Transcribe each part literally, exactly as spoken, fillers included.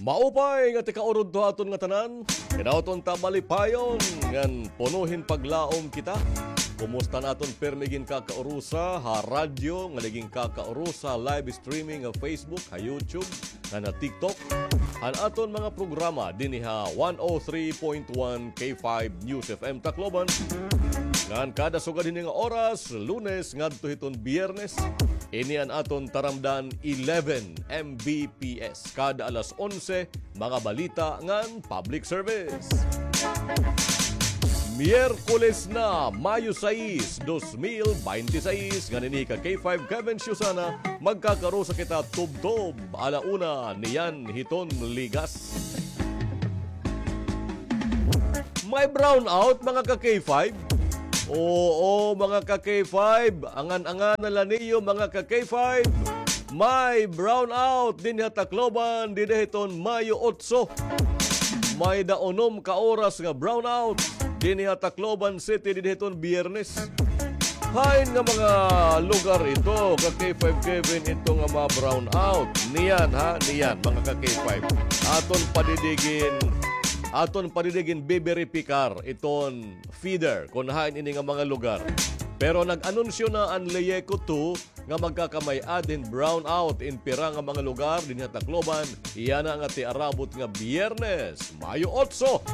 Maupay nga tika-urudto ha aton ngatanan, kinabuhi ta malipayon ngan puno hin paglaom kita. Kumusta an aton pirme ginkakaurusa ha radyo, ngan ginkakaurusa live streaming ha Facebook, ha YouTube, ngan ha TikTok? An aton mga programa dinhi ha one oh three point one K five News F M Tacloban. Ngan kada sugad hini nga oras, Lunes ngadto hiton Biyernes, ini an aton taramdan eleven M B P S. Kada alas onse, mga balita ngan public service. Miyerkules na, Mayo sais, dos mil baynte sais, ngan ini ka K five Kevin Susana, magkakarusa kita tubtob ala una niyan hiton ligas. May brownout, mga ka K five? Oo, mga ka K five, angan-angan na la niyo, mga ka K five. May brownout dinhi ha Tacloban dida hiton Mayo otso. May-ada unom ka oras nga brownout dinhi ha Tacloban City dida hiton Biyernes. Hain nga mga lugar ito, ka K five Kevin, ito nga ma-brownout? Niyan, ha, niyan, mga ka K five. Aton padidigin, aton padidigin biberipikar iton feeder kon hain ini nga mga lugar. Pero nag-anunsyo na an LEEECO two nga magkakamay-ad hin brownout in pira nga mga lugar dinhi ha Tacloban, yana nga tiarabot nga Biyernes, Mayo otso.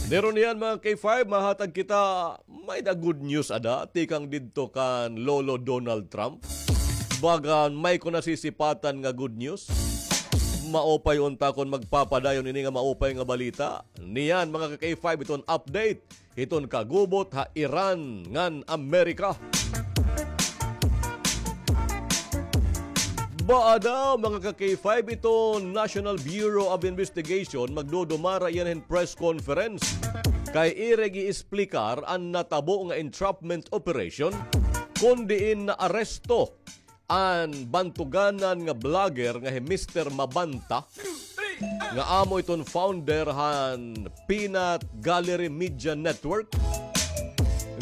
Pero niyan, mga K five, mahatag kita may-ada good news ada tikang didto kan Lolo Donald Trump. Baga may ko nasisipatan nga good news. Maupay unta kon magpapadayon ini nga maupay nga balita. Niyan, mga ka K five, iton update hiton kagubot ha Iran ngan Amerika. Baa daw, mga ka K five, iton National Bureau of Investigation magdudumara yana hin press conference kay ira ig-iesplikar an natabo nga entrapment operation kon diin naaresto an bantuganan nga vlogger nga hi Mister Mabanta, nga amo iton founder han Peanut Gallery Media Network,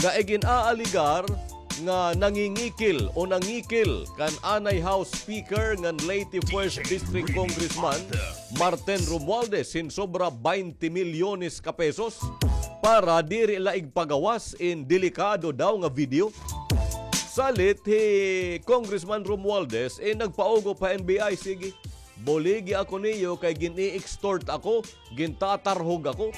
nga igin-aaligar nga nangingikil o nangikil kan anay House Speaker ngan Leyte First District Congressman Martin Romualdez hin sobra baynte milyones ka pesos para diri la igpagawas in delikado daw nga video. Salit hi Congressman Romualdez, eh, nagpaugop ha N B I, sige. Buligi ako niyo kay gin-i-extort ako, gintatarhog ako.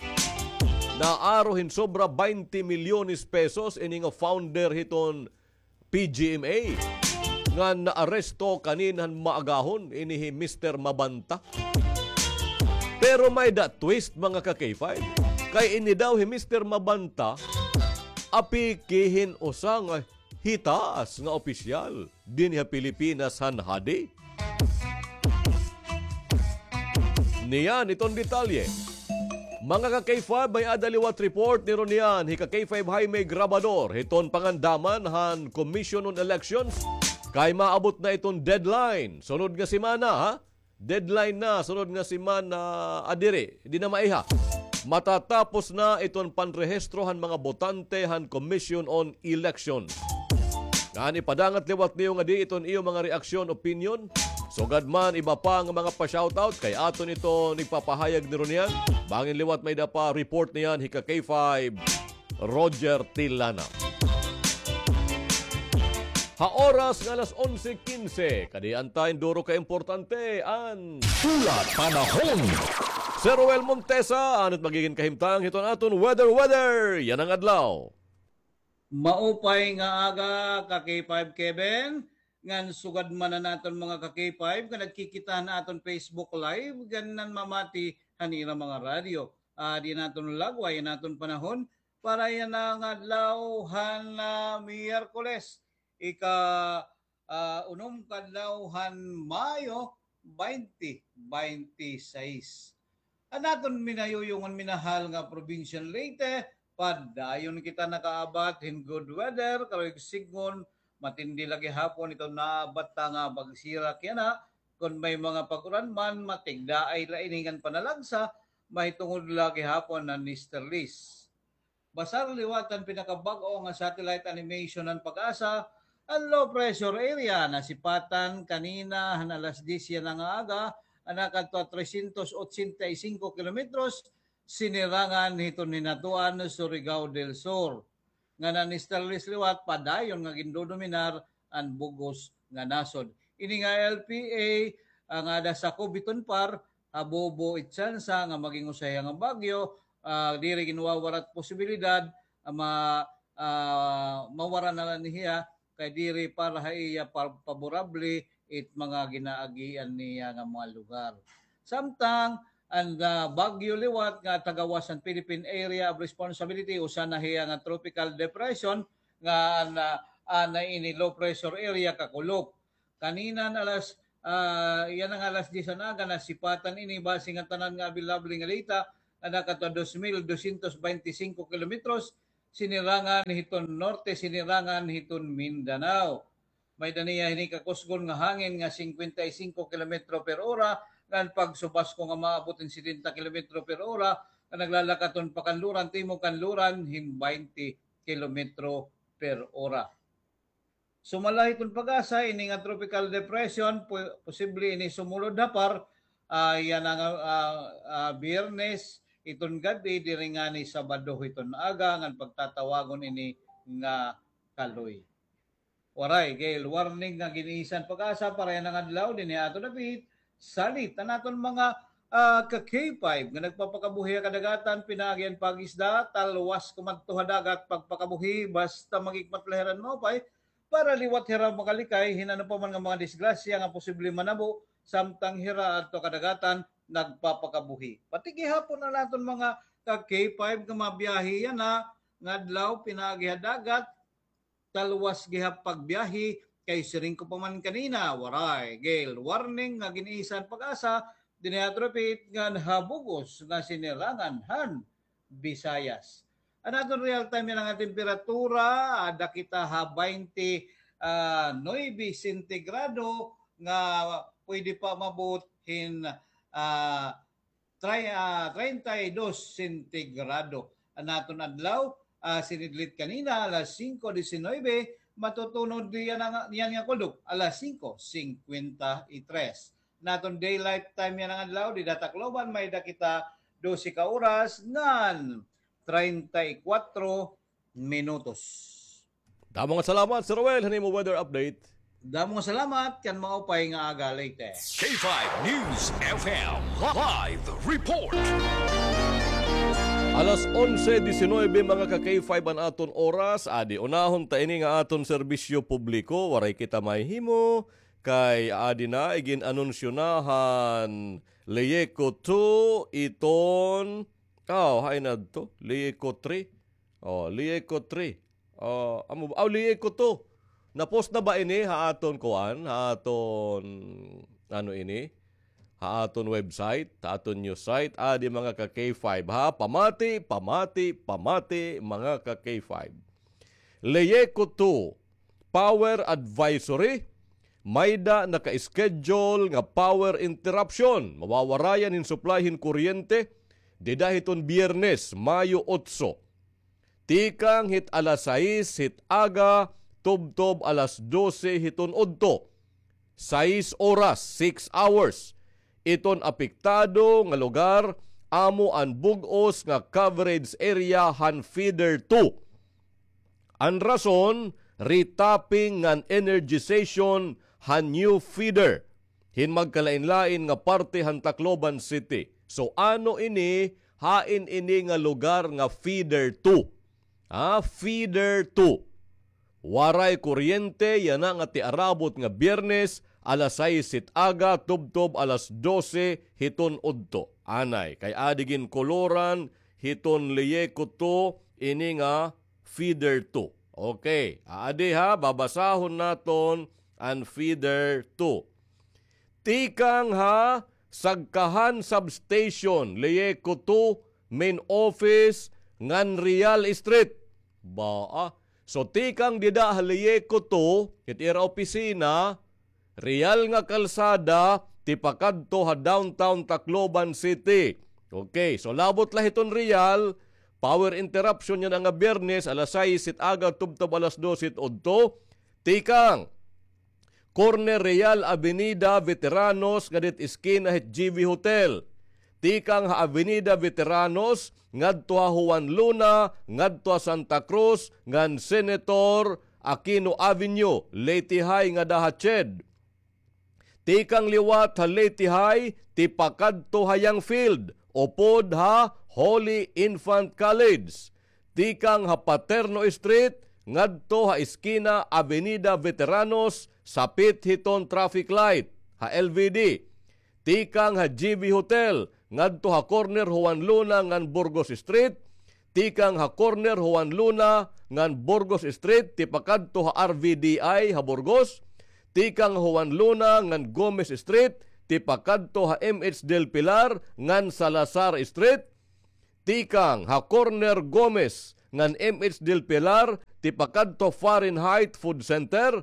Naaro hin sobra baynte milyones pesos ini nga founder hiton P G M A nga naaresto kanina han maagahon, ini hi Mister Mabanta. Pero may-ada twist, mga ka K five. Kay ini daw hi Mister Mabanta, apiki hin usa nga hitaas nga opisyal dinhi ha Pilipinas han hadi. Niyan iton detalye. Mga ka K five, may-ada liwat report ni Ronian hi ka K five Jaime Grabador hiton pangandaman han Commission on Elections kay maabot na iton deadline sunod nga semana, ha? Deadline na sunod nga semana, ah, diri, di na maiha. Matatapos na iton panrehistro han mga botante han Commission on Election. Ngan ipadangat liwat niyo ngadi iton iyo mga reaksyon, opinyon. Sugad man iba pa nga mga pa-shoutout kay aton iton igpapahayag ni Ronian. Bangin liwat may-ada pa report niyan hi ka K five Roger Tilana. Ha oras nga alas onse quince, kadi an ta hin duro ka importante, an hulat panahon. Sir Roel Montesa, ano it magigin kahimtang hiton aton weather, weather yana nga adlaw? Maupay nga aga, ka K five Kevin, ngan sugad man an aton mga ka K five nga nagkikita han aton Facebook Live, ngan nanmamati han ira mga radyo. Ah, di naton lagway an aton panahon, para yana nga adlaw han, ah, Miyerkules, ika, ah, unom ka adlaw han Mayo, baynte baynte sais. An aton minayuyong ngan minahal nga probinsya han Leyte, padayon kita nakaabat hin good weather, karuyag sidngon, matindi la gihapon iton naabat ta nga pagsirak yana, kon may mga pag-uran man, matigdaay la ini ngan panalagsa, mahitungod la gihapon han easterlies. Basar liwat han pinakabag-o nga satellite animation han PAGASA, An low pressure area nasipatan kanina han alas diyes yana nga aga, an nakadto ha trescientos ochenta y cinco kilometros, sinirangan hiton Hinatuan, Surigao del Sur. Nga nan-establish liwat, padayon nga gindodominar an bug-os nga nasod. Ini nga L P A, ah, nga ada sakob hiton PAR, habobo it tsansa nga maging usa hiya nga bagyo, ah, diri ginwawarat posibilidad, ah, ma-, ah, mawara na la niya, kay diri para ha iya pa-, paborable it mga ginaagian niya nga mga lugar. Samtang an, ah, bagyo liwat nga tagawas han Philippine Area of Responsibility, usa na hiya nga tropical depression nga an, ah, an ini low pressure area kakulop. Kanina nga alas, ah, yana nga alas diyes han aga, nasipatan ini base nga tanan nga available nga data, nga nakadto dos mil dosyentos bente singko kilometros, sinirangan hiton norte, sinirangan hiton Mindanao. May-ada niya hini kakusgon nga hangin nga singkwenta y singko kilometro per ora, ngan pagsubasko nga maabot hin setenta kilometro per ora, nga naglalakat hiton pakanluran, timog kanluran, hin baynte kilometro per ora. Sumala hiton PAGASA, ini nga tropical depression, po-, posible ini sumulod ha PAR, ah, yana nga, ah, ah, Biyernes, hiton gab-i, diri ngani Sabado hiton aga, ngan pagtatawagon ini nga kaloy. Waray gale warning nga gin-isan PAGASA para yana nga adlaw dinhi ha aton dapit. Salit an aton mga, ah, ka K five nga nagpapakabuhi ha kadagatan, pinaagi an pag-isda, talwas kumadto ha dagat pagpakabuhi, basta magikmat la hira hin maupay, para liwat hira makalikay hin ano pa man nga mga disgrasya nga posible manabo samtang hira adto ha kadagatan nagpapakabuhi. Pati gihapon an aton mga ka K five nga mabiyahe yana nga adlaw pinaagi ha dagat, talwas gihap pagbiyahe, kay siring ko pa man kanina, waray gale warning nga gin-isan PAGASA dinhi ha aton dapit ngan ha bug-os nga sinirangan han Visayas. An aton real time yana nga temperatura, ada kita ha baynte, ah, nuebe sentigrado nga pwede pa maabot hin, ah, Tri-, ah, treinta y dos sentigrado. An aton adlaw, ah, sinidlit kanina, alas singko disinuybe, matutunod yana nga, yana nga kulop, alas singko singkwenta y tres. An aton daylight time yana nga adlaw, dida ha Tacloban, may-ada kita dose ka oras ngan treinta y kuwatro minutos. Damo nga salamat, Sir Roel, han imo weather update. Damo nga salamat, kan maupay nga aga, Leyte. K five News F M live report. Alas onse disinuybe, mga ka K five, an aton oras. Adi, unahon ta ini nga aton serbisyo publiko. Waray kita mahihimo kay adi na, igin-anunsyo na han Leyeco two iton, aw, hain adto? Leyeco three. Oh, Leyeco three. Oh, amo ba? Oh, Leyeco two. Na-post na ba ini ha aton kuan? Ha aton, ano ini? Ha aton website, ha aton news site. Adi, mga ka K five, ha? Pamati, pamati, pamati, mga ka K five. Leyeco two, power advisory. May-ada naka-schedule nga power interruption. Mawawarayan hin supply hin kuryente dida hiton Biyernes, Mayo otso. Tikang hit alas sais hit aga, tubtob alas dose hiton udto. Sais oras, six hours. Iton apektado nga lugar, amo an bug-os nga coverage area han feeder two. An rason, retapping ngan energization han new feeder hin magkalain-lain nga parte han Tacloban City. So, ano ini, hain ini nga lugar nga feeder two? Ha, feeder two. Waray kuryente yana nga tiarabot nga Biyernes, alas sais hit aga, tubtob alas dose hiton udto. Anay, kay adi ginkoloran hiton Leyeco two ini nga feeder two. Okay, adi ha, babasahon naton an feeder two. Tikang ha Sagkahan Substation, Leyeco two, main office, ngan Real Street. Ba, ah. So, tikang dida ha Leyeco two, hit ira opisina, Real nga kalsada, tipakadto ha downtown Tacloban City. Okay, so labot la hiton Real, power interruption yana nga Biyernes, alas sais hit aga, tubtob alas dos hit udto. Tikang corner Real Avenida Veteranos ngadto hit eskina hit G V Hotel. Tikang ha Avenida Veteranos ngadto ha Juan Luna ngadto ha Santa Cruz ngan Senator Aquino Avenue, Leyte High ngada ha CHED. Tikang liwat ha Leyte High, tipakadto ha Young Field, upod ha Holy Infant College. Tikang ha Paterno Street, ngadto ha eskina Avenida Veteranos, sapit hiton traffic light, ha L V D. Tikang ha G V Hotel, ngadto ha corner Juan Luna ngan Burgos Street, tikang ha corner Juan Luna ngan Burgos Street, tipakadto ha R V D I ha Burgos, tikang ha Juan Luna ngan Gomez Street, tipakadto ha M H Del Pilar ngan Salazar Street, tikang ha corner Gomez ngan M H Del Pilar, tipakadto Fahrenheit Food Center,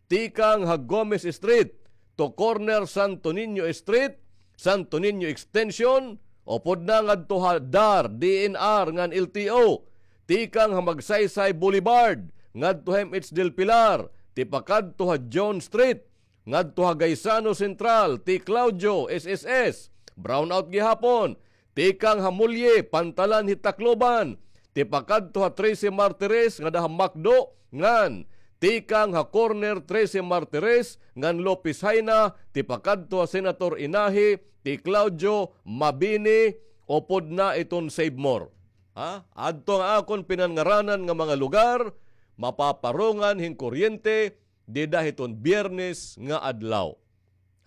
tikang ha Gomez Street to corner Santo Niño Street, Santo Niño Extension, upod na ngadto ha DAR, D N R ngan L T O, tikang ha Magsaysay Boulevard ngadto ha M H Del Pilar, tipakadto ha John Street, ngadto ha Gaisano Central, T. Claudio, S S S, brownout gihapon, tikang ha Mulye, pantalan hit Tacloban, tipakadto ha Trece Martires ngada ha McDo, ngan tikang ha corner Trece Martires ngan Lopez Jaena, tipakadto ha Senator Inahi, T. Claudio, Mabini, upod na iton Save More. Ha? Adto nga akon pinanngaranan nga mga lugar, mapaparungan hin kuryente, dida hiton Biyernes nga adlaw.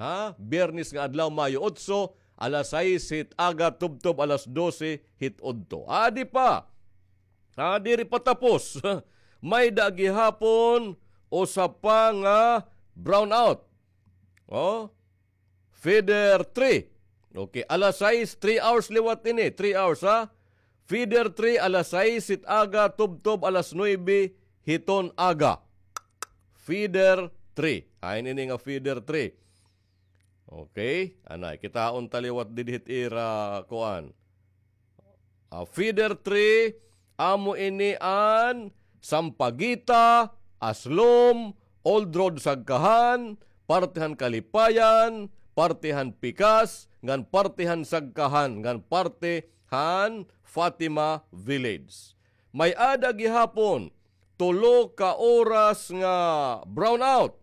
Ha? Biyernes nga adlaw, Mayo otso, alas sais hit aga tubtob alas dose hit udto. Adi pa. Ha, diri pa tapos. May-ada gihapon usa pa nga brownout. Oh, feeder three. Okay, alas sais, three hours liwat ini, three hours, ha? Feeder three, alas sais hit aga tubtob alas nuebe hiton aga. Feeder three. Hain ini nga feeder three? Okay, anay, kitaon ta liwat didi hit ira kuan. Ah, feeder three, amo ini an Sampaguita, Aslom, Old Road Sagkahan, parte han Kalipayan, parte han Pikas, ngan parte han Sagkahan, ngan parte han Fatima Village. May-ada gihapon tulo ka oras nga brownout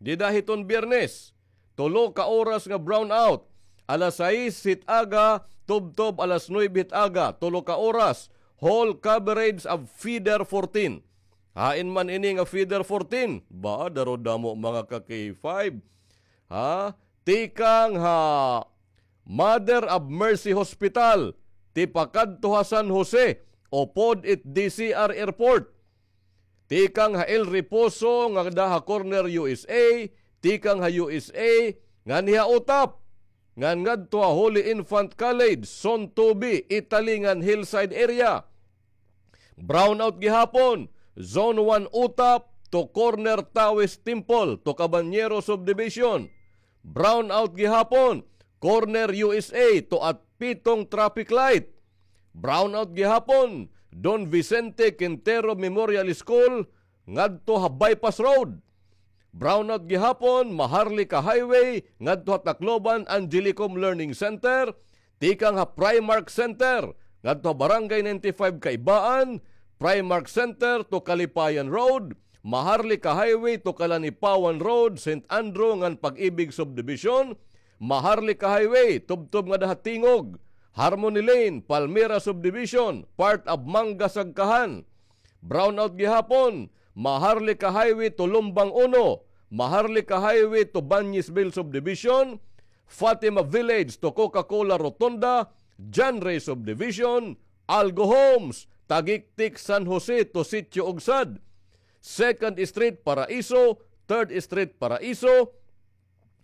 dida hiton Biyernes. Tulo ka oras nga brownout. Alas sais hit aga, tubtob alas nuebe hit aga, tulo ka oras. Whole coverage of feeder fourteen. Hain man ini nga feeder fourteen? Ba, daro damo mga ka-K five. Ha? Tikang ha Mother of Mercy Hospital, tipakadto ha San Jose, upod it D C R Airport. Tikang ha El Reposo ngada ha corner U S A, tikang ha U S A ngan ha Utap, ngan ngadto ha Holy Infant College, Zone two B, Italy ngan Hillside area. Brownout gihapon, Zone one Utap to corner Taoist Temple to Cabanyero Subdivision. Brownout gihapon, corner U S A to Atpitong traffic light. Brownout gihapon, Don Vicente Quintero Memorial School ngadto ha Bypass Road. Brownout gihapon, Maharlika Highway ngadto ha Tacloban Angelicum Learning Center, tikang ha Primark Center ngadto ha Barangay ninety-five Kaibaan, Primark Center to Kalipayan Road, Maharlika Highway to Kalanipawan Road, Saint Andrew ngan Pag-ibig Subdivision, Maharlika Highway tubtob ngada ha Tingog, Harmony Lane, Palmira Subdivision, part of Manga Sagkahan. Brownout gihapon, Maharlika Highway to Lumbang Uno, Maharlika Highway to Banyesville Subdivision, Fatima Village to Coca-Cola Rotonda, John Ray Subdivision, Algo Homes, Tagiktik San Jose to Sitio Ugsad, Second Street Paraiso, Third Street Paraiso,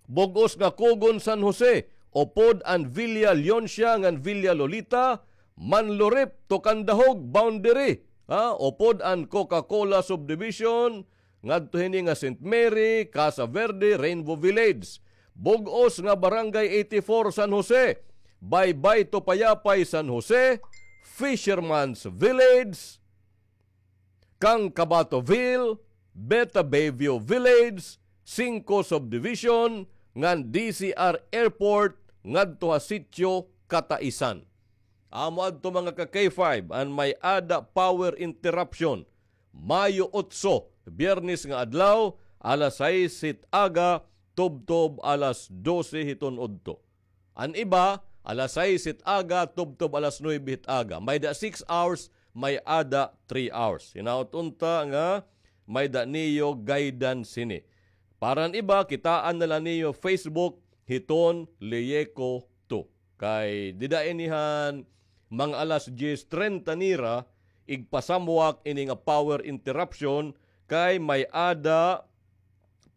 bug-os nga Cogon San Jose, upod an Villa Leoncia ngan Villa Lolita, Manlurip to Candahog boundary, ha, upod an Coca-Cola Subdivision, ngadto hini nga Saint Mary, Casa Verde, Rainbow Village. Bug-os nga Barangay eighty-four San Jose, Baybay to Payapay San Jose, Fisherman's Village, Kangkabatoville, Beta Bayview Village, singko Subdivision, ngan D C R Airport, ngadto ha Sitio Kataisan. Amo adto, mga ka-K five, an may-ada power interruption. Mayo otso, Biyernes nga adlaw, alas sais hit aga, tubtob alas dose hiton udto. An iba, alas sais hit aga, tubtob alas nuebe hit aga. May-ada six hours, may-ada three hours. Hinaot unta nga may-ada niyo guidance hini. Para an iba, kitaan na la niyo Facebook hiton Leyeco two. Kay dida ini han mga alas diyes trenta nira, igpasamwak ini nga power interruption kay may-ada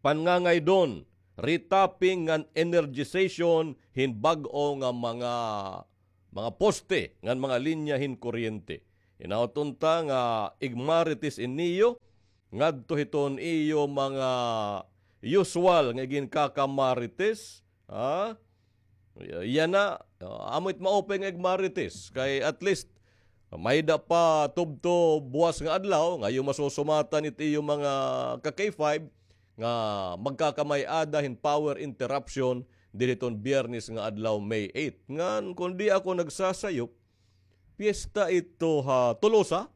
panngangaydon, retapping ngan energization hin bag-o nga mga, mga poste ngan mga linya hin kuryente. Hinaot unta nga igmarites in niyo ngadto hiton iyo mga usual nga iginkaka-Marites, ha? Yana, ah, amo it maupay nga igmarites. Kay at least, may-ada pa tubtob buwas nga adlaw, nga iyo masusumatan it iyo mga ka-K five, nga magkakamay-ada hin power interruption didi hiton Biyernes nga adlaw, May eight. Ngan, kon di ako nagsasayop, piyesta ito ha Tolosa,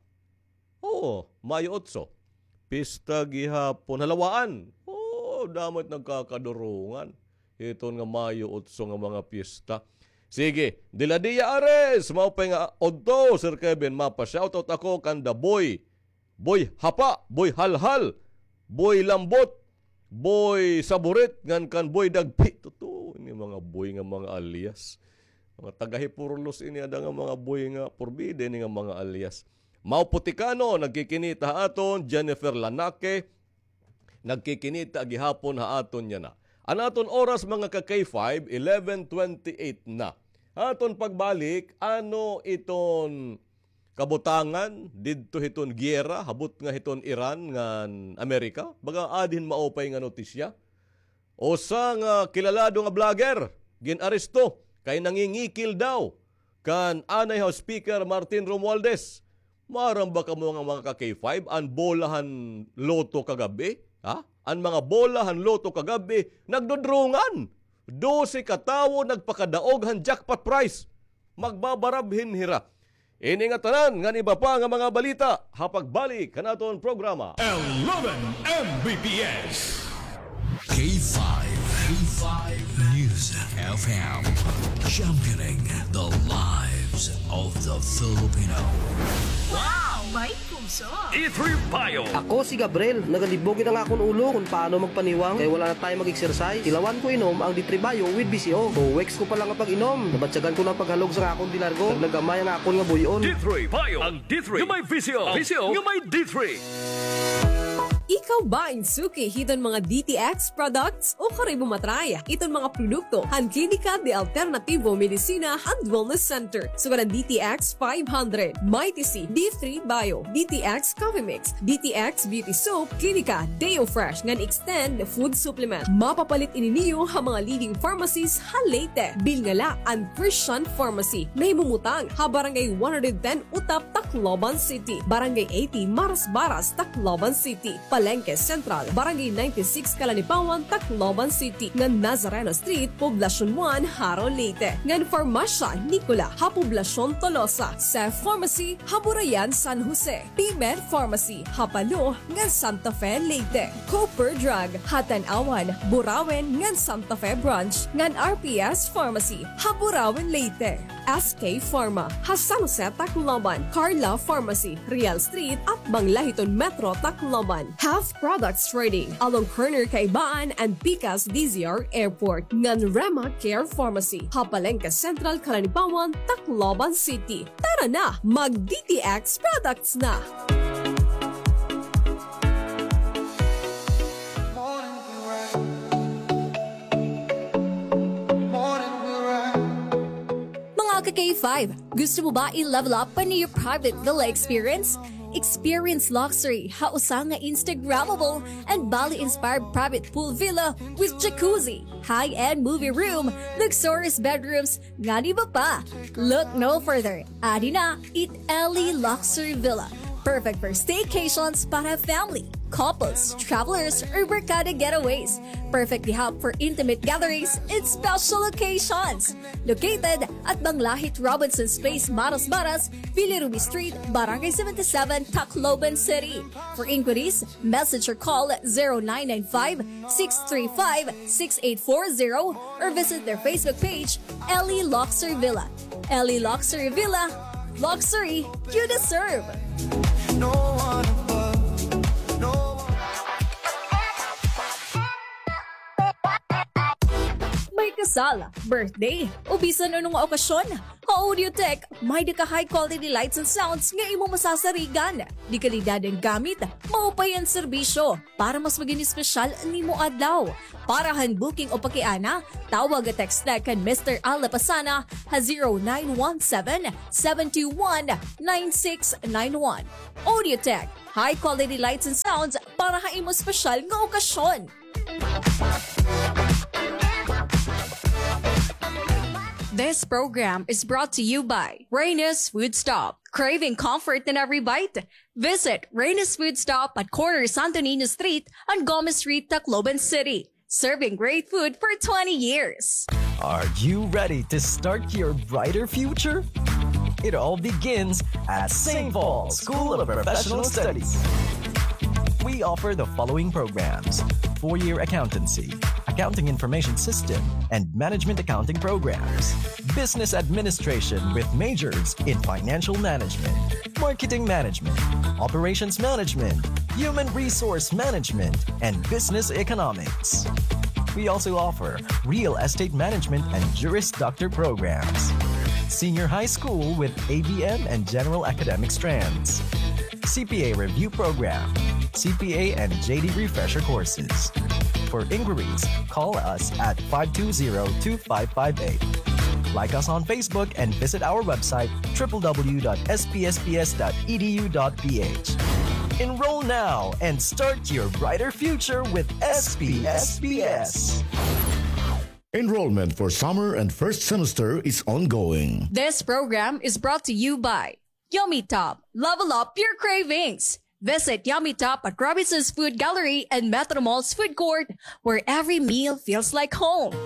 Oo, Mayo otso. Pista gihapon. Halawaan. Oo, damo it nagkakadurungan hiton nga Mayo otso nga mga pista. Sige, Diladiya Ares, maupay nga udto, Sir Kevin, mapa-shoutout ako kan The Boy. Boy Hapa, Boy Halhal, Boy Lambot, Boy Saburit, ngan kan Boy Dagpi. Totoo, ini mga boy nga mga alias. Mga taga Hipurlos ini, ada nga mga boy nga purbida ini nga mga alias. Mau Puticano, nagkikinita ha aton, Jennifer Lanake, nagkikinita gihapon ha aton yana. An aton oras, mga ka-K five, eleven twenty-eight na. Aton pagbalik, ano iton kabutangan didto hiton giyera, habot nga hiton Iran ngan Amerika? Baga adi hin maupay nga notisya. Usa nga kilalado nga vlogger, gin-aresto kay nangingikil daw kan anay House Speaker Martin Romualdez. Maaram ba kamo nga mga ka-K five, an bola han Lotto kagab-i? Ha? An mga bola han Lotto kagab-i, nagdudrungan. Dose ka tawo nagpakadaog han jackpot prize. Magbabarabhin hira. Ini nga tanan ngan iba pa nga mga balita ha pagbalik han aton programa. Eleven M B P S. K five, K five News F M, championing the lives of the Filipino. Wow! May puso! D three Bio. Ako si Gabriel. Nagalibog it ang akon ulo kon paano magpaniwang kay wala na tayo mag-exercise. Tilawan ko inom ang D three Bio with V C O. Two weeks ko pa lang nga pag-inom, nabatyagan ko na an paghalog sa akon di largo. Nag-, nag-amay ang akon nga buy-on. D three Bio. Ang D three nga may V C O. V C O nga may D three. Ikaw ba in suki hiton mga D T X products? O kari mo matry iton mga produkto han Klinika de Alternativo Medicina and Wellness Center, sugad han D T X five hundred, Mighty C, D three Bio, D T X Coffee Mix, D T X Beauty Soap, Klinika Deo Fresh ngan Extend Food Supplement. Mapapalit ini niyo ha mga leading pharmacies ha Leyte. Bilngala an Christian Pharmacy, nahimumutang ha Barangay one hundred ten Utap, Tacloban City, Barangay eighty Marasbaras, Tacloban City, Palenque Central, Barangay ninety-six Calanipawan, Tacloban City, ngan Nazareno Street, Poblacion one, Jaro, Leyte, ngan Farmacia Nicola ha Poblacion Tolosa, Seth Pharmacy ha Burayan, San Jose, P-Med Pharmacy ha Palo ngan Santa Fe, Leyte, Cooper Drug ha Tanauan, Burauen ngan Santa Fe Branch, ngan R P S Pharmacy ha Burauen, Leyte. S K Pharma ha San Jose, Tacloban, Carla Pharmacy, Real Street, atbang la hiton Metro Tacloban, Half Products Trading, along corner Kaibaan and Pikas D Z R Airport, ngan Rema Care Pharmacy ha Palenque Central, Calanipawan, Tacloban City. Tara na, mag D T X products na! Mga ka-K five, gusto mo ba i-level up pa niyo private villa experience? Experience luxury ha usa nga Instagrammable and Bali-inspired private pool villa with jacuzzi, high-end movie room, luxurious bedrooms, ngan iba pa. Look no further. Adi na it Ellie Luxury Villa. Perfect for staycations para family. couples, travelers, or barkada getaways. Perfect gihap for intimate gatherings and special occasions. Located at Manglahit Robinson's Place, Maras Maras, Billy Ruby Street, Barangay seventy-seven, Tacloban City. For inquiries, message or call zero nine nine five, six three five, six eight four zero or visit their Facebook page, Ellie Luxury Villa. Ellie Luxury Villa, luxury you deserve. No one above, no one. May kasal, birthday, o bisan ano nga okasyon, ha Audiotech, may-ada ka high quality lights and sounds nga imo masasarigan. Dekalidad an gamit, maupay an serbisyo, para mas magin espesyal an imo adlaw. Para han booking o pakiana, tawag o text na kan Mister Al Lapasana ha zero nine one seven, seven two one, nine six nine one. Audiotech, high quality lights and sounds para ha imo espesyal nga okasyon. This program is brought to you by Reyna's Food Stop. Craving comfort in every bite? Visit Reyna's Food Stop at corner Santo Niño Street and Gomez Street, Tacloban City. Serving great food for twenty years. Are you ready to start your brighter future? It all begins at Saint Paul School of Professional Studies. We offer the following programs: four-year accountancy, accounting information system, and management accounting programs, business administration with majors in financial management, marketing management, operations management, human resource management, and business economics. We also offer real estate management and Juris Doctor programs, senior high school with A B M and general academic strands, C P A review program, C P A and J D refresher courses. For inquiries, call us at five two zero, two five five eight. Like us on Facebook and visit our website, triple W dot S P S P S dot E D U dot P H. Enroll now and start your brighter future with S P S P S. Enrollment for summer and first semester is ongoing. This program is brought to you by Yummy Top. Level up your cravings. Visit Yummy Top at Robinson's Food Gallery and Metro Mall's Food Court, where every meal feels like home.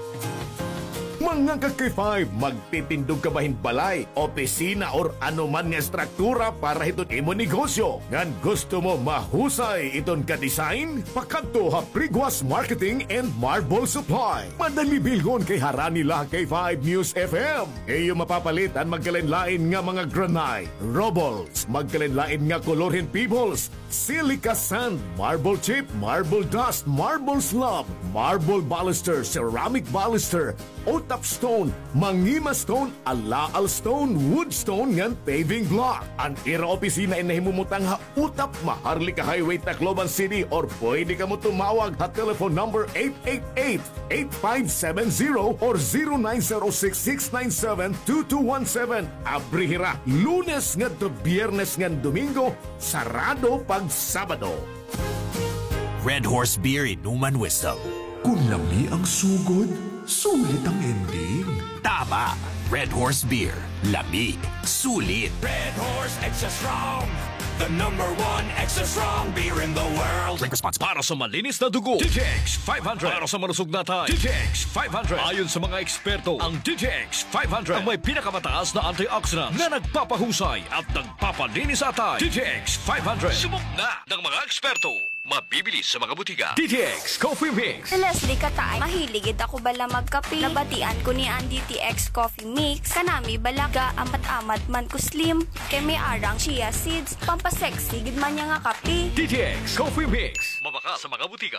Mga ka-K five, magtitindog ka ba hin balay, opisina, or ano man nga estruktura para hiton imo negosyo? Ngan gusto mo mahusay iton ka-design? Pakadto ha Priguas Marketing and Marble Supply. Madali bilhon kay harani la ha K five News F M. Iyo mapapalit an magkalain-lain nga mga granite, rubbles, magkalain-lain nga kolor hin pebbles, silica sand, marble chip, marble dust, marble slab, marble baluster, ceramic baluster, utap stone, mangima stone, alaal stone, wood stone, ngan paving block. An ira opisina in nahimumutang ha Utap, Maharlika Highway, Tacloban City, or pwede kamo tumawag ha telephone number eight eight eight, eight five seven zero or zero nine zero six, six nine seven, two two one seven. Abri hira Lunes ngadto Biyernes ngan Domingo, sarado pag Sabado. Red Horse Beer, inuman wisdom. Kun lami ang sugod, sulit ang ending. Tama! Red Horse Beer. Lami. Sulit. Red Horse Extra Strong. The number one extra strong beer in the world. Drink responsibly. Para sa malinis na dugo, D T X five hundred. Para sa malusog na atay, D T X five hundred. Ayon sa mga eksperto, ang D T X five hundred ang may pinakamataas na antioxidants na nagpapahusay at nagpapalinis sa atay. D T X five hundred. Subok na ng mga eksperto. Mabibili sa mga butika. D T X Coffee Mix. Si Leslie Kataay, mahilig gid ako bala magkape. Nabatian ko ni an D T X Coffee Mix. Kanami bala ga-amat-amat man ko slim. Kay may arang chia seeds, pampasexy gid man niya nga kape. D T X Coffee Mix. Mabaka sa mga butika.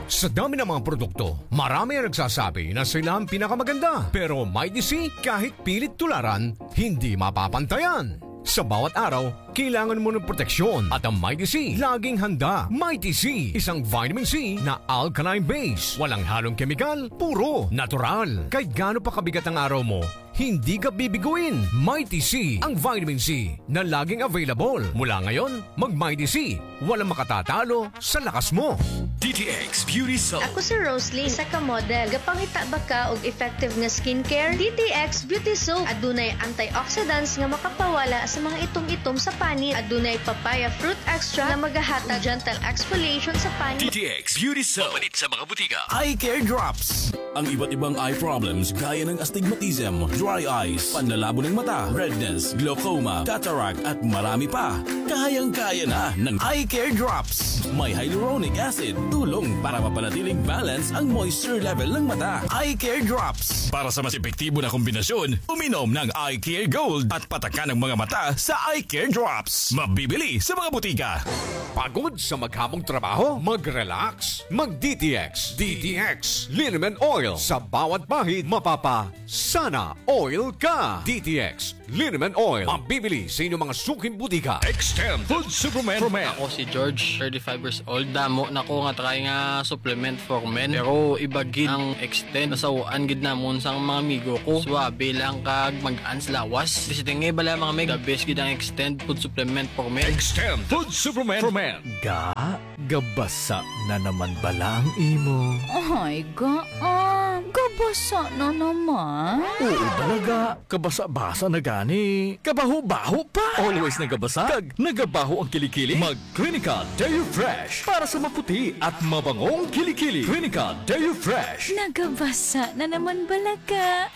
Sa dami ng mga produkto, marami ang nagsasabi na sila ang pinakamaganda. Pero Mighty C, kahit pilit tularan, hindi mapapantayan. Sa bawat araw, kailangan mo ng proteksyon at ang Mighty C laging handa. Mighty C, isang vitamin C na alkaline base. Walang halong kemikal, puro natural. Kahit gaano pa kabigat ang araw mo, hindi ka bibiguin. Mighty C, ang vitamin C na laging available. Mula ngayon, mag-Mighty C. Walang makatatalo sa lakas mo. D T X Beauty Soap. Ako si Rosalie, isa ka model. Gapangita ba ka og effective nga skincare? D T X Beauty Soap. Adunay antioxidants nga makapawala sa mga itom-itom sa panit. Adunay papaya fruit extract nga magahatag gentle exfoliation sa panit. D T X Beauty Soap. Mapalit sa mga butika. Eye Care Drops. Ang iba't ibang eye problems gaya ng astigmatism, dry eyes, panlalabo ng mata, redness, glaucoma, cataract at marami pa. Kayang-kaya na ng Eye Care Drops. May hyaluronic acid, tulong para mapanatiling balance ang moisture level ng mata. Eye Care Drops. Para sa mas epektibo na kombinasyon, uminom ng Eye Care Gold at patakan ang mga mata sa Eye Care Drops. Mabibili sa mga butika. Pagod sa maghamong trabaho? Mag-relax. Mag-D T X. D T X Liniment Oil. Sa bawat bahid, mapapasana oil ka. D T X Liniment Oil. Mabibili sa inyong mga suking butika. Extend Food Supplement for Men. Ako si George, thirty-five years old. Damo na ko nga try nga supplement for men. Pero iba gid ang Extend. Nasaw-an gid namon sang mga amigo ko. Suabe lang kag mag-ans lawas. Bisita nga bala mga meg. The best gid ang Extend Food Supplement for Men. Extend Food Supplement for Men. Ga, gabasa na naman bala ang imo. Ay, ga, ah, gabasa na naman. Oo, talaga. Kabasa-basa na gani. Kabaho-baho pa. Always nagabasa. Kag nagabaho ang kilikili. Mag Clinica Deo Fresh para sa maputi at mabangong kilikili. Clinica Deo Fresh. Nagabasa na naman bala ka.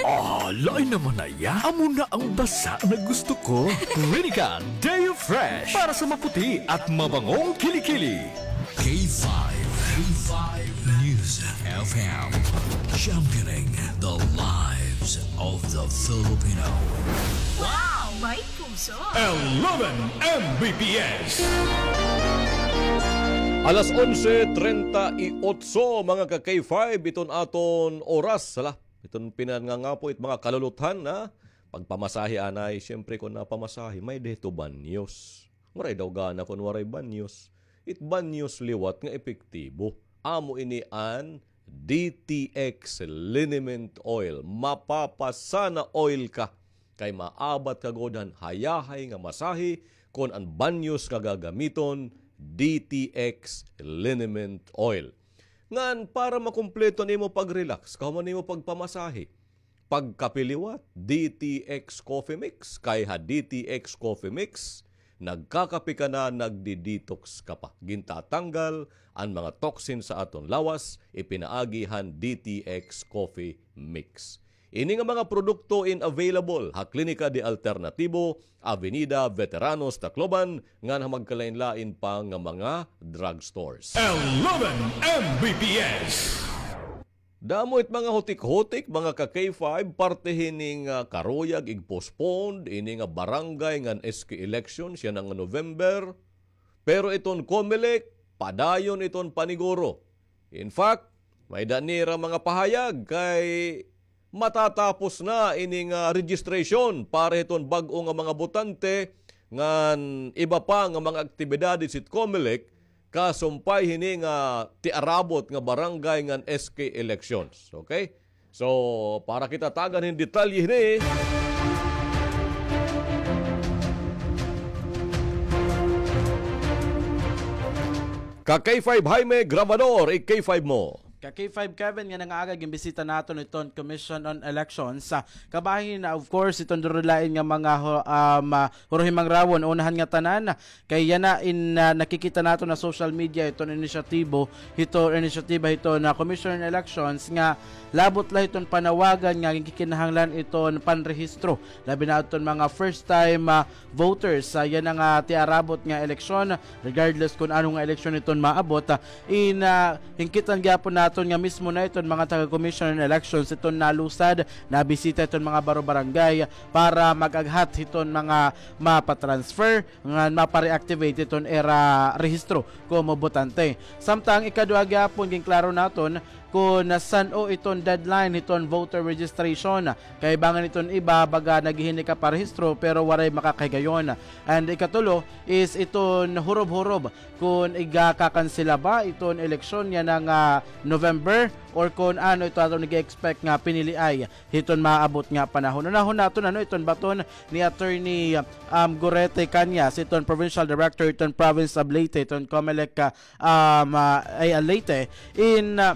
Ah, lain naman na iya. Amo na ang basa na gusto ko. Clinica Deo Fresh para sa maputi at mabangong kilikili. K five, K five News F M, championing the lives of the Filipino. Wow! May puso! Eleven M B P S. Alas onse treinta y ocho, mga ka-K five, iton aton oras. Hala, iton pinangangapo it mga kaluluthan na pagpamasahe anay, siyempre, kon napamasahe, may dito banyos. Waray daw gana kon waray banyos. It banyos liwat nga epektibo. Amo ini an D T X Liniment Oil. Mapapasana oil ka. Kay maabat ka gud han hayahay nga masahe kon an banyos nga gagamiton, D T X Liniment Oil. Ngan para makumpleto nimo pag-relax, kahuman nimo pagpamasahe, pagkape liwat, D T X Coffee Mix. Kay ha D T X Coffee Mix, nagkakape ka na, nagdi-detox ka pa. Gintatanggal an mga toxin sa aton lawas, ipinaagi han D T X Coffee Mix. Ini nga mga produkto in available ha Klinika de Alternatibo, Avenida Veteranos, Tacloban, ngan ha magkalain-lain pa nga mga drugstores. Eleven M B P S. Damo it mga hutik-hutik, mga ka-K five, parte hini nga karuyag, ig-postpone ini nga barangay ngan S K election, siya na nga November. Pero iton Comelec, padayon iton paniguro. In fact, may-ada nira mga pahayag kay matatapos na ini nga registration para hiton bag-o nga mga botante ngan iba pa nga mga aktibidades hit Comelec, kasumpay hini nga tiarabot nga barangay ngan S K elections. Okay? So, para kita tagan hin detalye hini. Ka K five Jaime Grabador, i K five mo. Ka K five Kevin, nga nangaaga, ginbisita naton iton Commission on Elections. Sa kabahin, of course, iton duro lain nga mga hu-, um, ah, hurohimangrawon, unahan nga tanan, kay yana in, ah, nakikita naton ha social media iton inisyatibo, hiton inisyatiba hiton, ah, Commission on Elections nga labot la hiton panawagan nga ginkikinahanglan iton panrehistro. Labi na adton mga first time, ah, voters, ah, yana nga tiarabot nga eleksyon, regardless kon ano nga eleksyon iton maabot, ah, in, ah, ginkitan gihapon naton nga mismo na iton mga taga Commission on Elections iton nalusad, nabisita iton mga baro-barangay para mag-aghat hiton mga mapatransfer ngan mapa-reactivate iton ira rehistro komo botante. Samtang ikadua gihapon, ginklaro naton kon san-o iton deadline hiton voter registration. Kay bangin iton iba, baga naghihinay ka parehistro pero waray makakahigayon. And ikatulo is iton hurob-hurob kon igakakansela ba iton eleksyon yana nga November or kon ano ito aton nag-expect nga piniliay hiton maabot nga panahon. Unahon naton ano iton baton ni Attorney, um, Gorete Cañas, iton Provincial Director iton Province of Leyte, iton Comelec, ah, um, ah, ay, ah, Leyte. In, ah,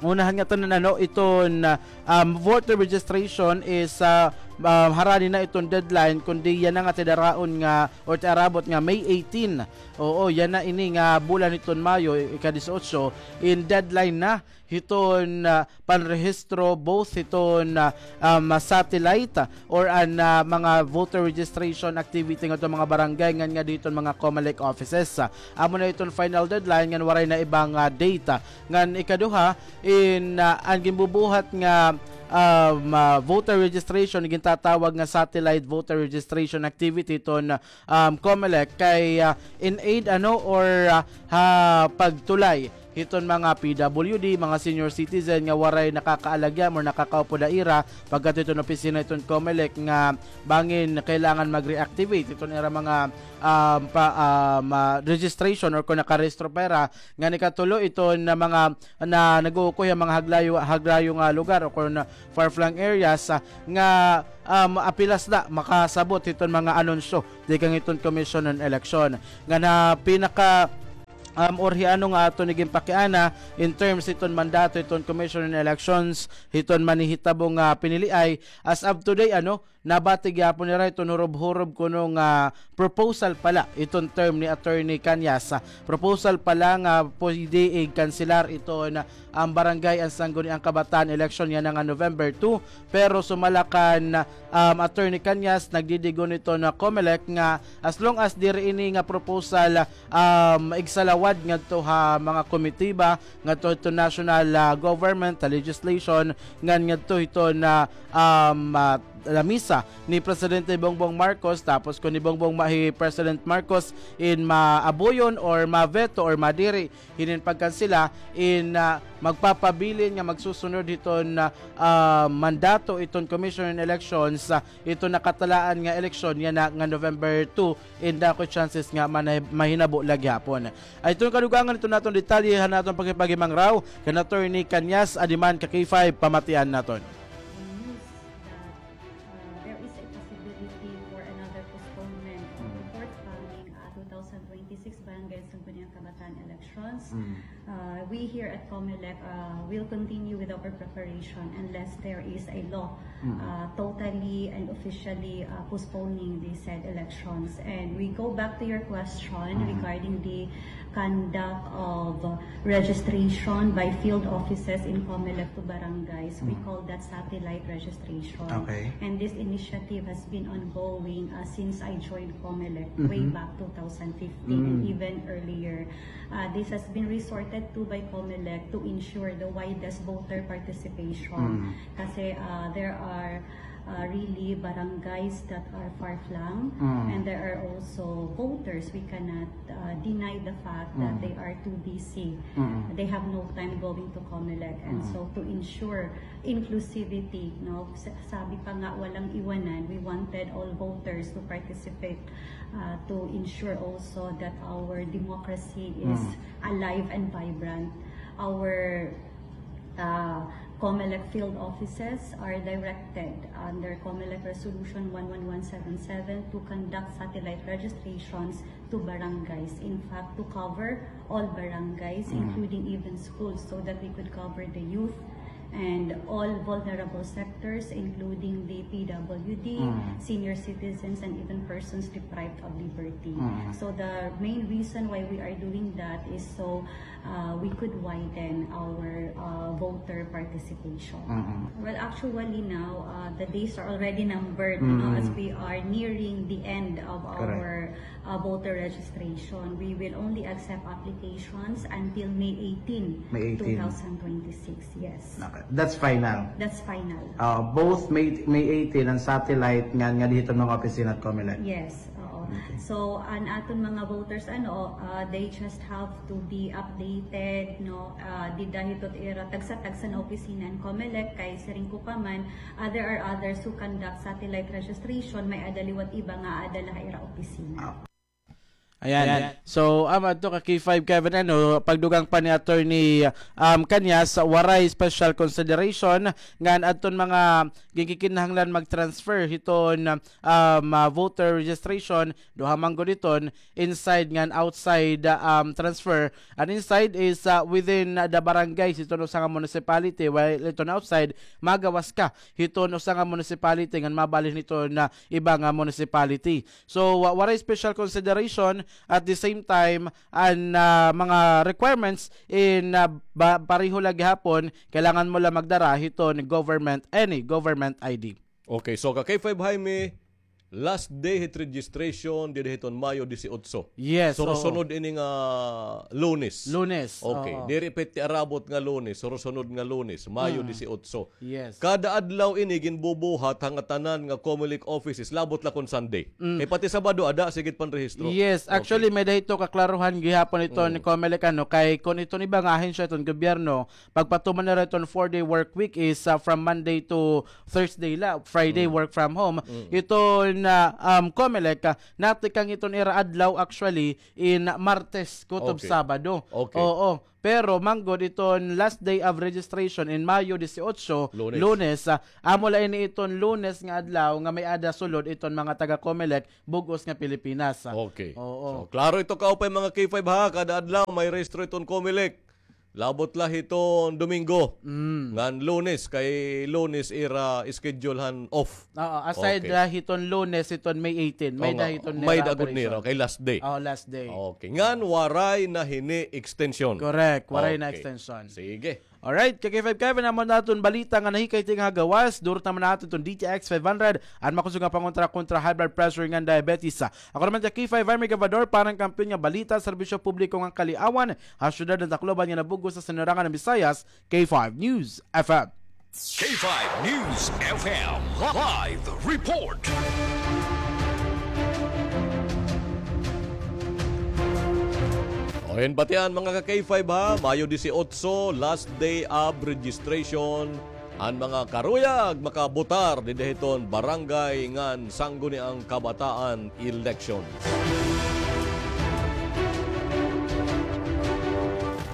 unahan nga tanan ano iton, ah, um, voter registration is, ah, ah, harani na iton deadline, kundi yana nga tidaraon nga, or tiarabot nga May eighteen. Oo, yana ini nga bulan hiton Mayo, ika-disiotso, in deadline na hiton, ah, panrehistro, both hiton, ah, um, satellite, ah, or an, ah, mga voter registration activity ngadto mga barangay ngan nga diton mga COMELEC offices. Ah, amo na iton final deadline ngan waray na ibang, ah, date, ah. Ngan ikaduha, in, ah, an ginbubuhat nga, um, ah, voter registration, gintatawag nga satellite voter registration activity ton, um, COMELEC kay, ah, in aid, ano, or, ah, ha pagtulay hiton mga P W D, mga senior citizen nga waray nakakaalagyan or nakakaupod ha ira pagkadto hiton opisina hiton COMELEC nga bangin kailangan mag-reactivate hiton ira mga, um, pa, um, ah, registration or kon nakarehistro pa ira. Ngan ikatulo, iton mga na nag-uukoy ha mga haglayo, haglayo nga lugar o kon far-flung areas, ah, nga, um, apenas la makasabot hiton mga anunsyo tikang hiton Commission on Election. Ngan ha pinaka, um, or hi ano nga aton iginpakiana in terms hiton mandato hiton Commission on Elections hiton manhihitabo nga piniliay, as of today, ano, nabati gihapon nira iton hurob-hurob kuno nga proposal pa la iton term ni Attorney Cañas. Proposal pa la nga pwede ikanselar iton, ah, an barangay an Sangguniang Kabataan election yana nga November two. Pero sumala kan, um, Attorney Cañas, nagdidigon iton COMELEC nga as long as diri ini nga proposal, um, igsalawad ngadto ha mga komitiba, ngadto hiton national, ah, government, ha legislation, ngan ngadto hiton, ah, um, ah, lamisa ni Presidente Bongbong Marcos, tapos kon ni Bongbong Ma-, hi President Marcos in maabuyon or ma-veto or madiri hinin pagkansela in, ah, magpapabilin nga magsusunod hiton, ah, ah, mandato iton Commission on Elections, ah, iton nakatalaan nga eleksyon yana nga November two, in dako chances nga manay-, mahinabo la gihapon. Ay, iton kadugangan iton aton detalye han aton pakighimangraw kan Attorney Cañas. Adi man ka K five, pamatian naton. News that, uh, there is a possibility for another postponement of the forthcoming, uh, two thousand twenty-six Barangay Sangguniang Kabataan elections. Uh, we here at COMELEC, uh, will continue with our preparation unless there is a law, uh, totally and officially, uh, postponing the said elections. And we go back to your question regarding the conduct of, uh, registration by field offices in COMELEC to barangays. We call that satellite registration. Okay. And this initiative has been ongoing, uh, since I joined COMELEC way back two thousand fifteen and even earlier. Uh, this has been resorted to by COMELEC to ensure the widest voter participation. Kasi, uh, there are, uh, really barangays that are far-flung, and there are also voters, we cannot, uh, deny the fact that they are too busy. They have no time going to COMELEC. And so to ensure inclusivity, no, sa-, sabi pa nga, walang iwanan, we wanted all voters to participate, uh, to ensure also that our democracy is alive and vibrant. Our, uh, COMELEC field offices are directed under COMELEC Resolution one one one seven seven to conduct satellite registrations to barangays. In fact, to cover all barangays, including even schools, so that we could cover the youth and all vulnerable sectors, including the P W D, senior citizens, and even persons deprived of liberty. So the main reason why we are doing that is so, uh, we could widen our, uh, voter participation. Well, actually now, uh, the days are already numbered, you know, as we are nearing the end of our, uh, voter registration. We will only accept applications until May eighteen, May eighteen. Two thousand twenty-six. Yes. Okay. That's final. That's final. Uh, both May, May eighteen and satellite nga, nga didto mga opisina at COMELEC. Yes, oo. Okay. So, an aton mga voters, ano, uh, they just have to be updated, no? Uh, dida hito ira tagsa-tagsa na opisina an COMELEC, kay siring ko pa man, uh, there are others who conduct satellite registration, may-ada liwat iba nga aada la ha ira opisina. Ah. Ayan. Ayan. So, um, adto ka K five Kevin, ano, pagdugang pa ni Attorney, um, Cañas, waray special consideration ngan adton mga ginkikinahanglan mag-transfer hiton, um, ah, voter registration, duha man gud iton inside ngan outside, ah, um, transfer. An inside is, ah, within, ah, the barangay hiton usa nga municipality, while iton outside, magawas ka hiton usa nga municipality ngan mabalhin hiton, ah, iba nga municipality. So, wa-, waray special consideration. At the same time, an, ah, mga requirements in, ah, ba-, pareho la gihapon, kailangan mo la magdara hiton government, any government I D. Okay, so ka K five Jaime, last day hit registration dida hiton Mayo disiotso. Yes, oo. So, sunod ini nga Lunes. Lunes, okay, oo. Diri pa hit arabot nga Lunes, so sunod nga Lunes, Mayo disiotso. Yes. Kada adlaw ini ginbubuhat ha ngatanan nga Comelec offices, labot la kon Sunday. Mm. Kay pati Sabado, ada, sige it panrehistro. Yes, okay. Actually, may-ada hito kaklaruhan gihapon iton Comelec, ano, kay kon iton iba nga ahensya iton gobyerno, pagpatuman nira iton four-day work week is, ah, from Monday to Thursday la, Friday work from home. Mm. Iton, ah, um, Comelec, ah, natikang iton ira adlaw actually in Martes kutob Sabado. Okay. Oo. Pero manggod iton last day of registration in Mayo disiotso, Lunes. Lunes, ah, amo la ini iton Lunes nga adlaw nga may-ada sulod iton mga taga Comelec bug-os nga Pilipinas, ah. Okay. Oo. So, klaro ito kaupay, mga K five, ha, kada adlaw may rehistro iton Comelec. Labot la hiton Domingo. Mm. Ngan Lunes, kay Lunes ira schedule han off. Oo, aside la hiton Lunes, hiton May eighteen. May-ada hiton nira operation. May-ada gud nira, kay last day. Oo, last day. Okay. Ngan waray na hini extension. Correct, waray na extension. Okay. Sige. Alright, ka K five Kevin, amo na aton balita nga nahikay tikang ha gawas, durot naman naton iton D T X five hundred, an makusog nga pangontra kontra high blood pressure ngan diabetes. Ako naman ka K five Jaime Gabador, para han kampiyon nga balita, serbisyo publiko ngan kaliawan, ha syudad han Tacloban ngan ha bug-os nga sinirangan han Visayas, K five News F M. K five News F M Live Report. O, hin batian, mga ka K five, ha, Mayo disiotso, last day of registration. An mga karuyag makabotar dida hiton barangay ngan sangguniang kabataan election.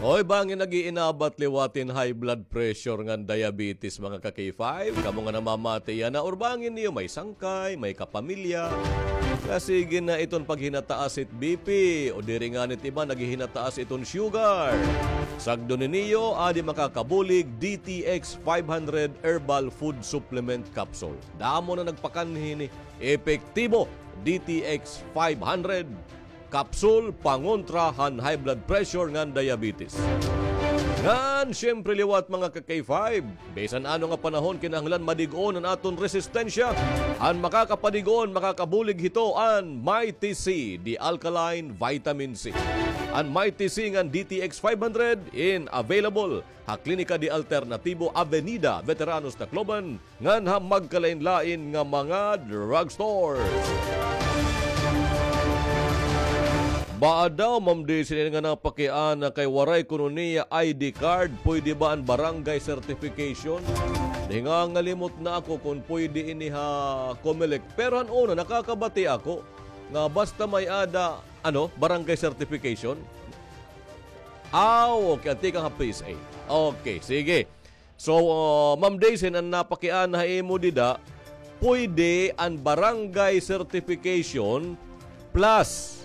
Hoy, bangin nag-iinabat liwat hin high blood pressure ngan diabetes, mga ka K five. Kamo nga namamati yana, or bangin niyo may sangkay, may kapamilya nga sige na iton paghinataas hit B P, o diri ngani it iba naghihinataas iton sugar. Sagdon niyo, adi makakabulig D T X five hundred Herbal Food Supplement Capsule. Damo na nagpakanhi hini. Epektibo, D T X five hundred Capsule pangontra han high blood pressure ngan diabetes. Ngan, siyempre, liwat, mga ka K five, bisan ano nga panahon, kinahanglan madig-on an aton resistensya. An makakapadig-on, makakabulig hito an Mighty C, the alkaline vitamin C. An Mighty C ngan D T X five hundred in available ha Klinika de Alternativo, Avenida Veteranos, Tacloban, ngan ha magkalain-lain nga mga drugstore. Baa daw, Ma'am Daisy, ini nga napakiana kay waray kuno niya I D card, pwede ba an barangay certification? Nahingangalimot na ako kon pwede ini ha Comelec. Pero han una, nakakabati ako nga basta may-ada, ano, barangay certification. Aw, okay, tikang ha P S A. Okay, sige. So, uh, Ma'am Daisy, an napakiana ha imo dida, pwede an barangay certification plus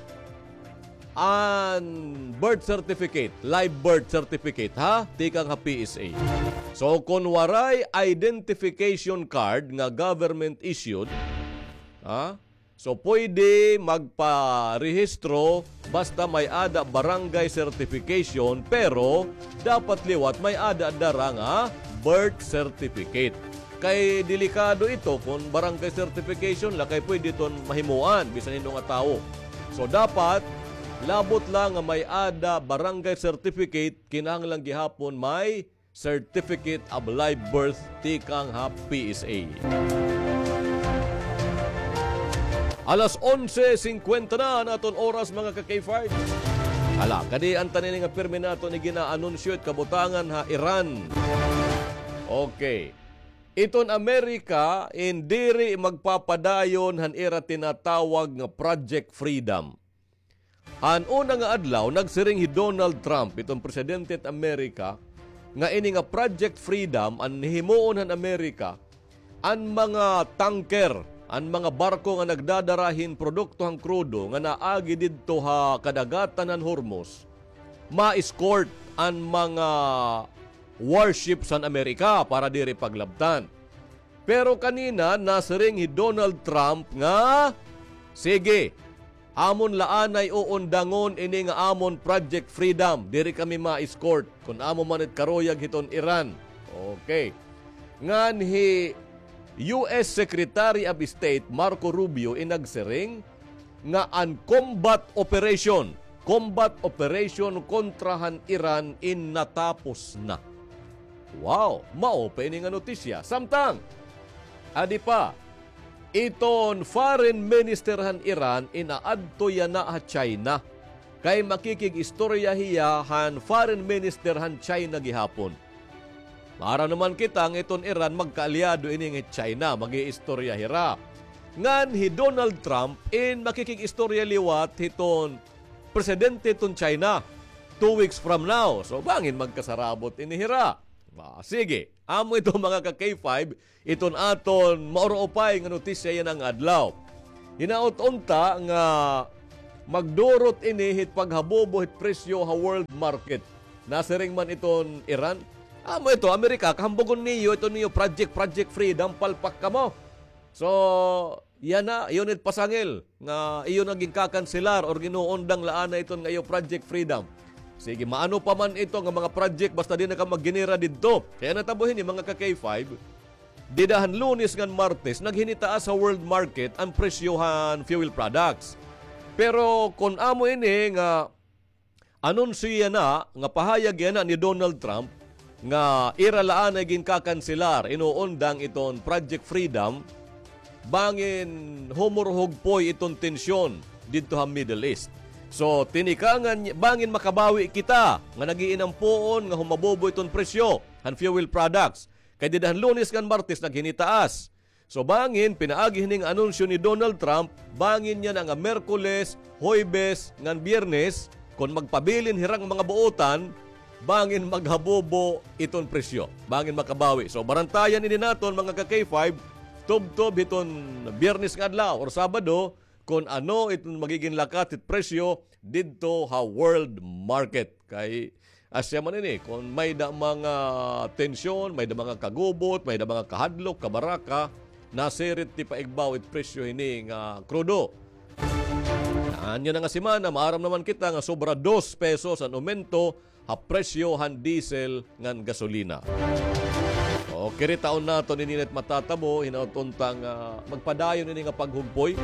an birth certificate, live birth certificate, ha? Tikang ha P S A. So, kon waray identification card nga government issued, ha? So, pwede magparehistro basta may-ada barangay certification, pero dapat liwat may-ada dara nga birth certificate. Kay delikado ito kon barangay certification la, kay pwede iton mahimuan bisan hin-o nga tawo. So, dapat labot la nga may-ada barangay certificate, kinahanglan gihapon may Certificate of Live Birth tikang ha P S A. Alas onse singkwenta na an aton oras, mga ka K five. Hala, kadi an tanan ini nga pirmi naton igina-anunsyo it kabutangan ha Iran. Okay. Iton Amerika in diri magpapadayon han ira tinatawag nga Project Freedom. Han una nga adlaw, nagsiring hi Donald Trump, iton presidente han Amerika, nga ini nga Project Freedom, an hihimuon han Amerika, an mga tanker, an mga barko nga nagdadara hin produkto han krudo nga naagi didto ha kadagatan han Hormuz, ma-escort an mga warships han Amerika para diri paglabtan. Pero kanina, nasiring hi Donald Trump nga, sige, amon la anay uundangon ini nga amon Project Freedom. Diri kami ma-escort kon amo man it karuyag hiton Iran. Okay. Ngan hi U S Secretary of State Marco Rubio in nagsiring nga an combat operation, combat operation kontra han Iran in natapos na. Wow, mao pa ini nga notisya. Samtang, adi pa, iton foreign minister han Iran in aadto yana ha China. Kay makikig-istorya hiya han foreign minister han China gihapon. Maaram naman kita nga iton Iran magkaalyado ini nga China, mag-iistorya hira. Ngan hi Donald Trump in makikig-istorya liwat hiton presidente hiton China two weeks from now. So, bangin magkasarabot ini hira. Ah, sige, amo ito, mga ka-K five, iton aton mauruupay nga notisya yana nga adlaw. Hinaot unta nga magdurot ini hit paghabobo hit presyo ha world market. Nasiring man iton Iran, amo ito, Amerika, kahambugon niyo, ito niyo, Project, Project Freedom, palpak kamo. So, yana, iyo it pasangil nga iyo na ginkakanselar or ginuundang la anay iton nga iyo Project Freedom. Sige, maano pa man ito nga mga project, basta di na ka maggenera didto. Kay natabo hini, mga ka-K five, dida han Lunes ngan Martes, naghinitaas ha world market an presyo han fuel products. Pero kon amo ini nga anunsyo yana, nga pahayag yana ni Donald Trump, nga ira la anay ginkakanselar, inuundang iton Project Freedom, bangin humurhugpoy iton tensyon didto ha Middle East. So, tinikangan, bangin makabawi kita nga nag-iinampuon nga humabobo iton presyo han fuel products. Kay dida han Lunes ngan Martes naghinitaas. So, bangin, pinaagi hini nga anunsyo ni Donald Trump, bangin yana nga Miyerkules, Huwebes, ngan Biyernes, kon magpabilin hira nga mga buotan, bangin maghabobo iton presyo. Bangin makabawi. So, barantayan ini naton, mga ka-K five, tubtob hiton Biyernes nga adlaw or Sabado, kon ano iton magigin lakat hit presyo didto ha world market. Kay asya man ini, kon may-ada mga tensyon, may-ada mga kagubot, may-ada mga kahadlok, kabaraka, nasirit ti paigbaw it presyo hini nga krudo. Ngan yana nga semana, maaram naman kita nga sobra dos pesos an umento ha presyo han diesel ngan gasolina. O, kiritaon naton ini nga matatabo, hinaot unta nga magpadayon ini nga paghugpoy.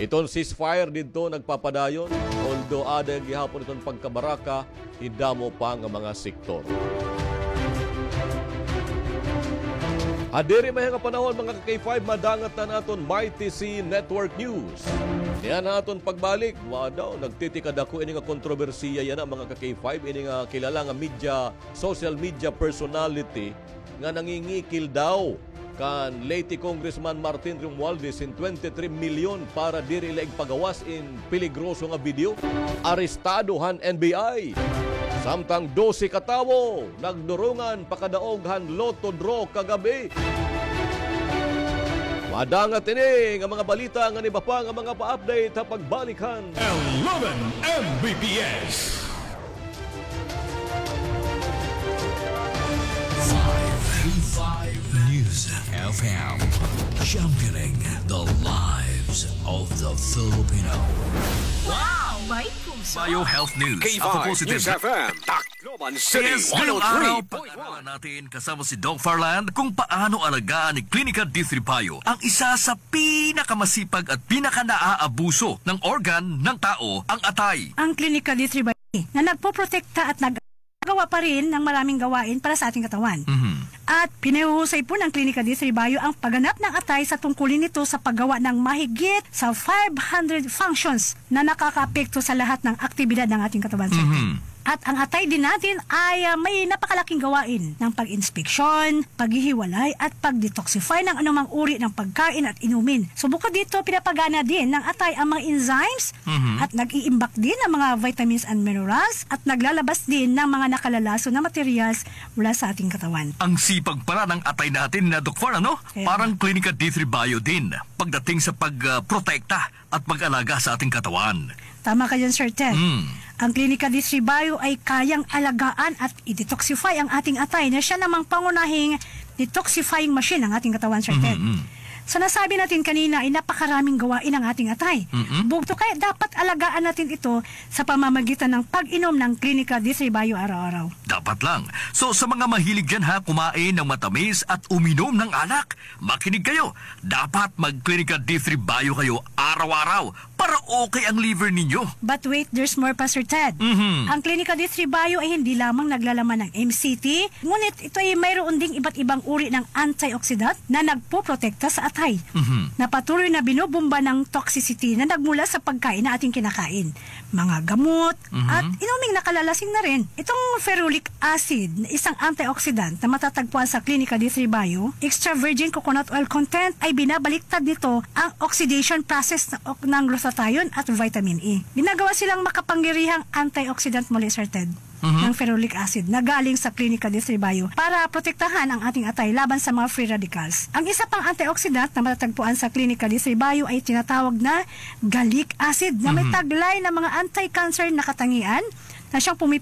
Iton ceasefire didto nagpapadayon, although aada gihapon iton pagkabaraka, hin damo pa nga mga sektor. Ha diri mahiya nga panahon, mga ka-K five, madangat na an aton Mighty C Network News. Niyan ha aton pagbalik, wa daw, nagtitikadako ini nga kontrobersiya yana, mga ka-K five, ini nga kilala nga media, social media personality nga nangingikil daw kan Leyte Congressman Martin Romualdez hin twenty-three milyon para diri la igpagawas in peligroso nga video. Arestado han N B I. Samtang dose ka tawo nagdurungan pakadaog han lotto draw kagab-i. Madangat ini nga mga balita ngan iba pa nga mga pa-update ha pagbalik han Eleven M B P S. Five, five News F M, championing the lives of the Filipino. Wow! May puso! Bio Health News. K five News F M, Tacloban City, Yes, ngayong araw, one oh three point one. Pag-aralan natin kasama si Doc Farland kung paano alagaan ni Klinika D three Bio, ang isa sa pinakamasipag at pinakanaabuso ng organ ng tao, ang atay. Ang Klinika D three Bio na nagpoprotekta at nag-, nagawa pa rin ng maraming gawain para sa ating katawan. Mhm. At pinahuhusay po ng Klinika D three Bio ang pagganap ng atay sa tungkulin nito sa paggawa ng mahigit sa five hundred functions na nakakaapekto sa lahat ng aktibidad ng ating katawan, sir. Mhm. At ang atay din natin ay, ah, may napakalaking gawain ng pag-inspeksyon, paghihiwalay at pag-detoxify ng anumang uri ng pagkain at inumin. So bukod dito, pinapagana din ng atay ang mga enzymes Mhm. at nag-iimbak din ng mga vitamins and minerals at naglalabas din ng mga nakalalason na materials mula sa ating katawan. Ang sipag pala ng atay natin na, Doc Far, ano? Kaya Parang nga. Clinica D three Bio din pagdating sa pag, ah, protekta at pag-alaga sa ating katawan. Tama ka dyan, Sir Ted. Mm. Ang Clinica D three Bio ay kayang alagaan at i-detoxify ang ating atay na siya namang pangunahing detoxifying machine ng ating katawan, Sir Ted. Mhm, mm. Sa nasabi natin kanina ay napakaraming gawain ng ating atay. Mm-mm. Bugto kaya dapat alagaan natin ito sa pamamagitan ng pag-inom ng Clinica D three Bio araw-araw. Dapat lang. So, sa mga mahilig dyan ha, kumain ng matamis at uminom ng alak, makinig kayo. Dapat mag-Clinica D three Bio kayo araw-araw para okay ang liver ninyo. But wait, there's more pa, Sir Ted. Mhm. Ang Clinica D three Bio ay hindi lamang naglalaman ng M C T, ngunit ito ay mayroon ding iba't ibang uri ng antioxidant na nagpoprotekta sa atay Mhm. na patuloy na binubumba ng toxicity na nagmula sa pagkain na ating kinakain. Mga gamot, Mhm. at inuming nakalalasing na rin. Itong ferulic acid, na isang antioxidant na matatagpuan sa Clinica D three Bio, extra virgin coconut oil content, ay binabaliktad nito ang oxidation process ng, ng glutathione at vitamin E. Ginagawa silang makapangyarihang antioxidant muli, Sir Ted, Mhm. ng ferulic acid na galing sa Clinica D three Bio para protektahan ang ating atay laban sa mga free radicals. Ang isa pang antioxidant na matatagpuan sa Clinica D three Bio ay tinatawag na gallic acid na may Mhm. taglay na mga anti-cancer na katangian na siyang pumi-,